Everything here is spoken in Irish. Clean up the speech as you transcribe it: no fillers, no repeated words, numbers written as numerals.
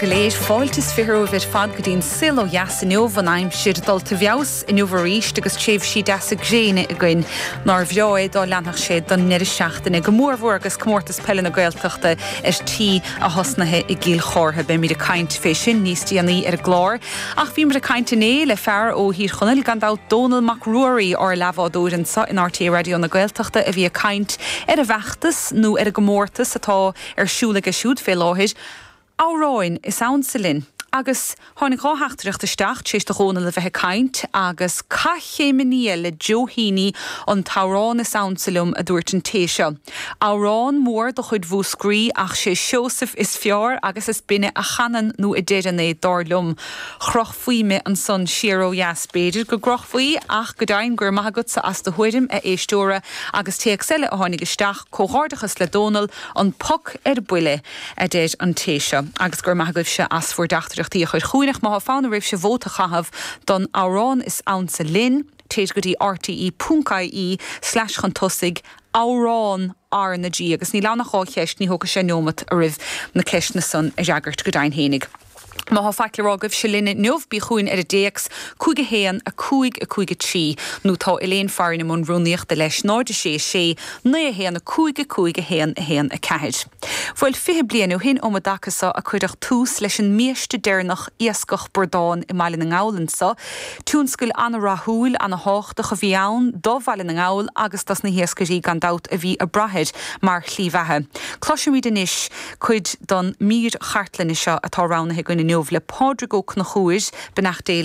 go léir. Fáilte is 20 romhaibh ar fad go dtí an Saol Ó Dheas inniu, an aimsir dulta i bhfeabhas inniu arís agus tréimhsí deasa gréine againn. Nár bhreá é dá leanfadh sé don ndeireadh seachtaine, go mórmhór agus Comórtas Peile na Gaeltachta ar tí a thosnaithe i gCill Chártha. Beimid ag caint fé sin níos déanaí ar an gclár. Ach bhíomar ag caint inné le fear ó Thír Chonaill, gan dabht, Dónall Mac Ruairí, ár leathbhádóir anseo in RTÉ Raidió na Gaeltachta a bhí ag caint ar an bhfeachtas nó ar an gcomórtas atá ar siúl aige siúd fé láthair, Amhráin is Ansa Linn. Agus tháinig dha theachtaireacht isteach tar éis do Dhónall a bheith ag caint agus Caith Chéim Aniar le Joe Heaney an t-amhrán is ansa liom a dúirt an té seo. Amhrán mór de chuid Mhúscraí ach sé Seosamh is fearr agus is binne a chanann nó a deireann é, dar liom. Chrochfaí mé ansan siar ó dheas, b'fhéidir go gcrochfaí, ach go deimhin go raibh maith agatsa as do thuairim, a éisteora, agus téacs eile a tháinig isteach, Comhghairdeachas le Dónall, an poc ar buile, a deir an té seo. Agus go raibh maith agaibhse as bhur dteachtaireachtaí a chur chugainn, ach má tá fonn oraibhse vóta a chaitheamh don amhrán is ansa linn, téid go dtí rte ponc ie slash chun tosaigh amhrán R na G agus níl ann ach dha cheist, ní thógfaidh sé neomat oraibh na ceisteanna san a fhreagairt go deimhin fhéinig. Má tá faic le rá agaibhse linn inniu, bí chugainn ar an dtéacs, 5 1 5 5 3, nó tá Elaine Farren i mbun rúnaíochta leis, 0 6 6 9 1 5 5 1 1 4. Bhuel, 20 bliain ó shin um an dtaca so a cuireadh tús leis an mbiaiste deireanach iascach bradán i mBaile na nGall anso. Tionscal ana-rathúil, ana-thábhachtach a bhí ann do Bhaile na nGall agus dos na hiascairí gan dabht a bhí ag brath air mar shlí bheatha. Cloisfimid anois cuid don mír chartlainne seo atá roghnaithe againn inniu le Pádraig Ó Conchúir, beannacht Dé leis.